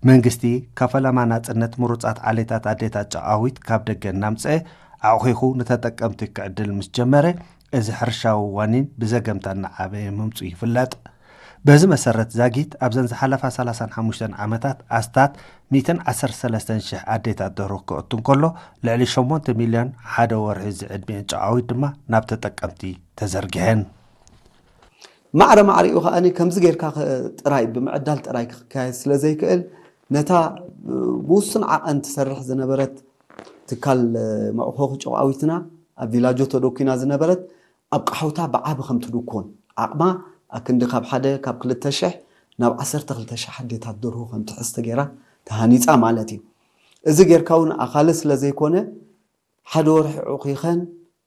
መንግስቲ ካብ ፈለማ ናጽነት ምሩጻት ዓሌታት ኣዴታት ጨቓዊት ካብ ደገ እናምጽአ ኣቑሒኹ ንተጠቀምቲ ክዕድል ምስ ጀመረ፣ እዚ ሕርሻዊ ዋኒን ብዘገምታ እናዓበየ ምምጹ ይፍለጥ። በዚ መሰረት ዛጊት ኣብዘን ዝሓለፋ ሰላሳን ሓሙሽተን ዓመታት ኣስታት ሚእትን ዓሰርተ ሰለስተን ሽሕ ኣዴታት ደርሆ ክእቱ እንከሎ፣ ልዕሊ ሸሞንተ ሚልዮን ሓደ ወርሒ ዝዕድሚአን ጨቓዊት ድማ ናብ ተጠቀምቲ ተዘርጊሐን። ማዕረ ማዕሪኡ ከኣ ከምዚ ጌርካ ኸ- ጥራይ ብምዕዳል ጥራይ ክካየድ ስለ ዘይክእል፣ ነታ ብውሱን ዓቐን ትሰርሕ ዝነበረት ትካል መዕኾኺ ጨቓዊትና፣ ኣብ ቪላጆ ተደኩና ዝነበረት፣ ኣብ ቃሕውታ ብዓቢ ከም ትድኮን ዓቕማ ኣክንዲ ካብ ሓደ ካብ ክልተ ሽሕ ናብ ዓሰርተ ክልተ ሽሕ ኣዴታት ደርሁ ከም ትሕዝ ተገይራ ተሃኒጻ ማለት እዩ። እዚ ጌርካ እውን ኣኻሊ ስለ ዘይኮነ፣ ሓደ ወርሒ ዑኺኸን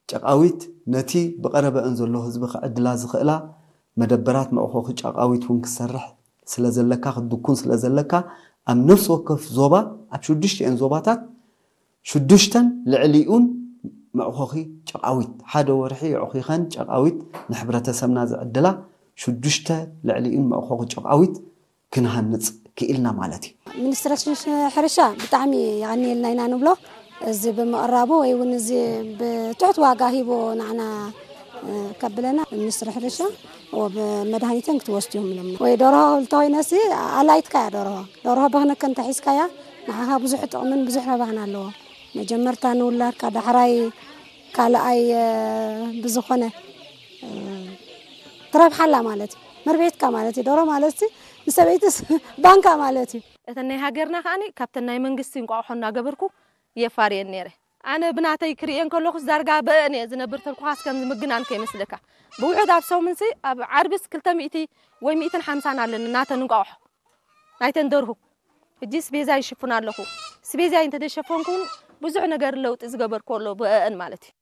ጨቓዊት ነቲ ብቐረበአን ዘሎ ህዝቢ ክዕድላ ዝኽእላ መደበራት መዕኾኺ ጨቓዊት እውን ክሰርሕ ስለ ዘለካ፣ ክትድኩን ስለ ዘለካ፣ ኣብ ነፍሲ ወከፍ ዞባ፣ ኣብ ሽዱሽተኤን ዞባታት ሽዱሽተን ልዕሊኡን መዕኾኺ ጨቓዊት፣ ሓደ ወርሒ የዕኺኸን ጨቓዊት ንሕብረተሰብና ዝዕድላ ሽዱሽተ ልዕሊኡን መዕኾኺ ጨቓዊት ክንሃንጽ ክኢልና ማለት እዩ። ሚኒስትሪ ሕርሻ ብጣዕሚ የቐንየልና ኢና ንብሎ። እዚ ብምቕራቡ ወይ እውን እዚ ብትሑት ዋጋ ሂቦ ንዓና ከብለና ሚኒስትሪ ሕርሻ መድሃኒተን ክትወስድዮም ኢሎምና። ወይ ደርሆ እንተኮይነሲ ኣላይትካ እያ ደርሆ። ደርሆ በክነከ እንተሒዝካያ ንዓኻ ብዙሕ ጥቕምን ብዙሕ ረብሓን ኣለዎ። መጀመርታ ንውላድካ ዳሕራይ ካልኣይ ብዝኾነ ትረብሓላ ማለት እዩ። መርቤትካ ማለት እዩ። ደሮ ማለት ንሰበይትስ ባንካ ማለት እዩ። እተን ናይ ሃገርና ከዓኒ ካብተን ናይ መንግስቲ እንቋቑሖ እናገበርኩ የፋርየን ነይረ። ኣነ ብናተይ ክርእየን ከለኹስ ዳርጋ በእን እየ ዝነብር ተልኩኻስ ከም ዝምግናን ከይመስለካ። ብውሑድ ኣብ ሰሙንሲ ኣብ ዓርብስ ክልተ ሚእቲ ወይ ሚእትን ሓምሳን ኣለኒ ናተን እንቋቑሖ ናይተን ደርሁ። ሕጂ ስቤዛ ይሽፍን ኣለኹ። ስቤዛይ እንተደሸፈንኩን ብዙሕ ነገር ለውጢ ዝገበርኩ ኣሎ ብእን ማለት እዩ።